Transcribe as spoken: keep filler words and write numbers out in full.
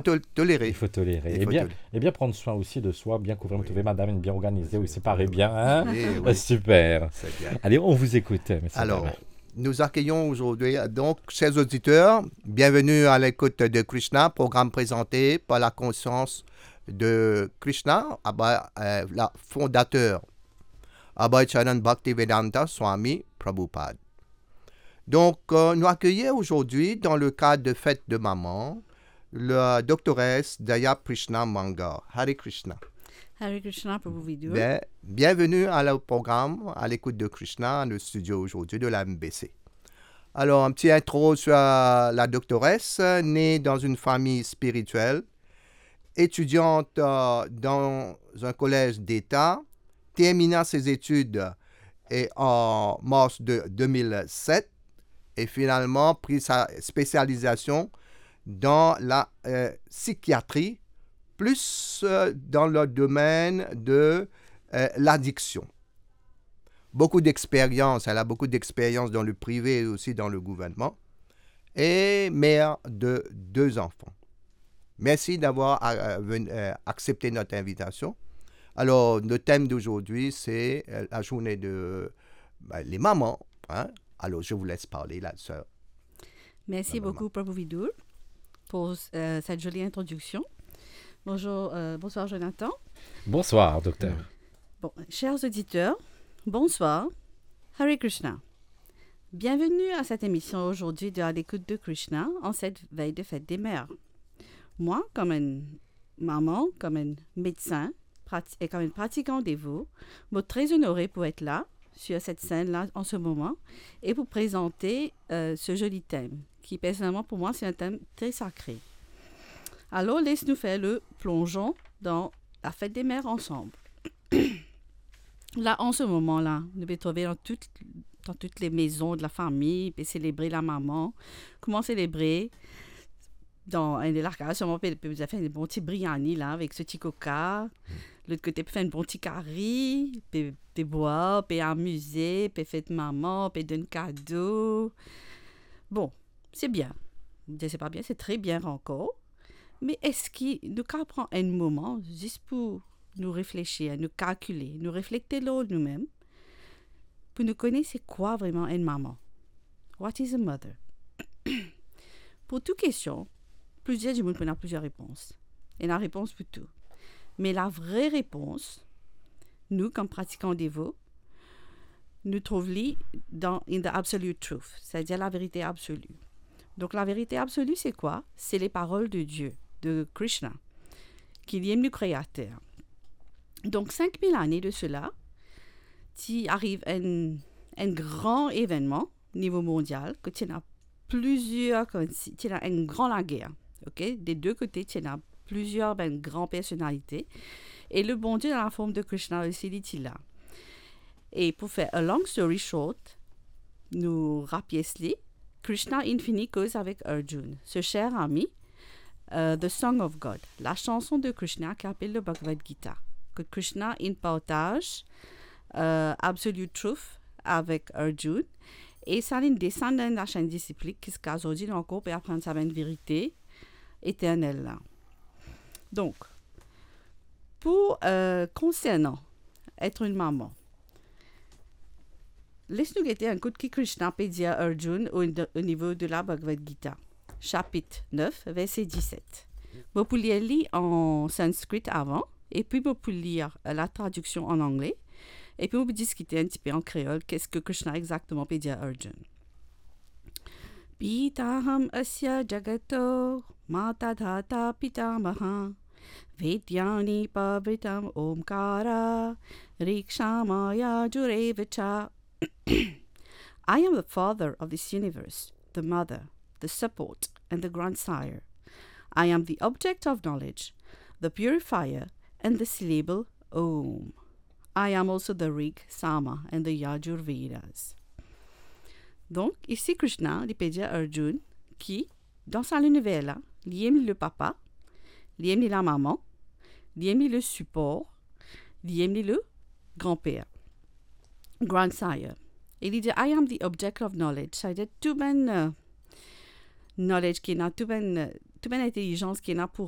tol-, toléré. Il faut tolérer. Il faut tolérer. Et bien, et bien prendre soin aussi de soi, bien couvrir. Oui. Trouver madame bien organisée aussi, paraît bien, hein ? Oui, oui. Super. C'est bien. Allez, on vous écoute, monsieur Bernard. Alors, nous accueillons aujourd'hui, euh, donc, chers auditeurs, bienvenue à l'écoute de Krishna, programme présenté par la conscience de Krishna, Abhay, euh, la fondateur, Abhay Charan Bhaktivedanta Swami Prabhupada. Donc, euh, nous accueillons aujourd'hui, dans le cadre de fête de maman, la doctoresse Daya Prishna Mangar. Hare Krishna. Hare Krishna, Prabhu Vidur. Bien, bienvenue à le programme, à l'écoute de Krishna, le studio aujourd'hui de la M B C. Alors, un petit intro sur, euh, la doctoresse, euh, née dans une famille spirituelle, étudiante, euh, dans un collège d'État, termina ses études et en mars de deux mille sept et finalement prit sa spécialisation dans la, euh, psychiatrie, plus, euh, dans le domaine de, euh, l'addiction. Beaucoup d'expérience, elle a beaucoup d'expérience dans le privé et aussi dans le gouvernement, et mère de deux enfants. Merci d'avoir, euh, venu, euh, accepté notre invitation. Alors, le thème d'aujourd'hui, c'est, euh, la journée de, ben, les mamans, hein. Alors, je vous laisse parler, la sœur. Merci beaucoup, Prabhu Vidur, pour, euh, cette jolie introduction. Bonjour, euh, bonsoir, Jonathan. Bonsoir, docteur. Bon, chers auditeurs, bonsoir. Hare Krishna. Bienvenue à cette émission aujourd'hui de À l'écoute de Krishna en cette veille de fête des mères. Moi, comme une maman, comme un médecin prati-, et comme un pratiquant dévot, je suis très honorée pour être là, sur cette scène-là, en ce moment, et pour présenter, euh, ce joli thème, qui, personnellement, pour moi, c'est un thème très sacré. Alors, laisse-nous faire le plongeon dans la fête des mères ensemble. La, an se moman la, nou pe trouve dan tout, dan tout le mezon de la fami, pe selebre la mama. Kouma selebre? Dan enn de lakaz, sirman pe, pe fer enn bon ti briani la, avek so ti koka. Lot kote pe fer enn bon ti kari, pe, pe bwar, pe amize, pe fet mama, pe donn kado. Bon, se bien. Mo dir se pa bien, se tre bien ankor. Me eski nou kapav pran enn moman zis pou nou reflesir, nou kalkile, nou reflekte lor noumem, pou nou kone se kwa vreman enn mama? What is a mother? Pou tou kestion, plizier dimoun pou ena plizier repons. Ena repons pou tou. Me la vre repons, nou, kom pratikan devo, nou trouv li dan, in the absolute truth, setadir laverite absoli. Donk, laverite absoli, se kwa? Se les paroles de Dieu, de Krishna, ki li mem nou Kreater. Donk, sink mil ane de sela, ti ariv enn, enn gran evennman nivo mondial, kot ti ena plizier, koumsi, ti ena enn gran lager, ok? De de kote, ti ena plizier bann gran personalite. E le Bondie, dan la form de Krishna osi, li ti la. E pou fer a long story short, nou rapies li, Krishna inn fini koz avek Arjun, so ser ami, euh, The Song of God, la chanson de Krishna ki apel le Bhagavad Gita. Kot Krishna inn partaz, euh, absolute truth avek Arjun, e sa inn desann dan la chaîne disciplique, ziska zordi nou ankor pe aprann sa bann verite eternel la. Donk, pou, euh, konsernan etre enn mama, les nou gete enn kout ki Krishna pe dir Arjun o, o nivo de la Bhagavad Gita, sapit nef, verse diset. Mo pou lir li an sanskrit avan, epi mo pou lir, euh, la tradiksion an angle, epi mo pou diskite enn tipe an kreol, ki sa Krishna exakteman pe dir Arjun. Pitaham asya jagato mata dhata pitamaha, vedyani pavritam omkara rikshama yajureva cha. I am the father of this universe, the mother, the support, and the grandsire. I am the object of knowledge, the purifier, and the syllable Om. I am also the Rig, Sama, and the Yajur Vedas. Donk, isi Krishna, li pe dir Arjun ki, dan sa liniver la, li mem li le papa, li mem li la mama, li mem li le sipor, li mem li le granper, grandsire. E li dir, "I am the object of knowledge." Setadir tou bann, euh, knowledge ki ena, tou bann, euh, tou bann intelizans ki ena pou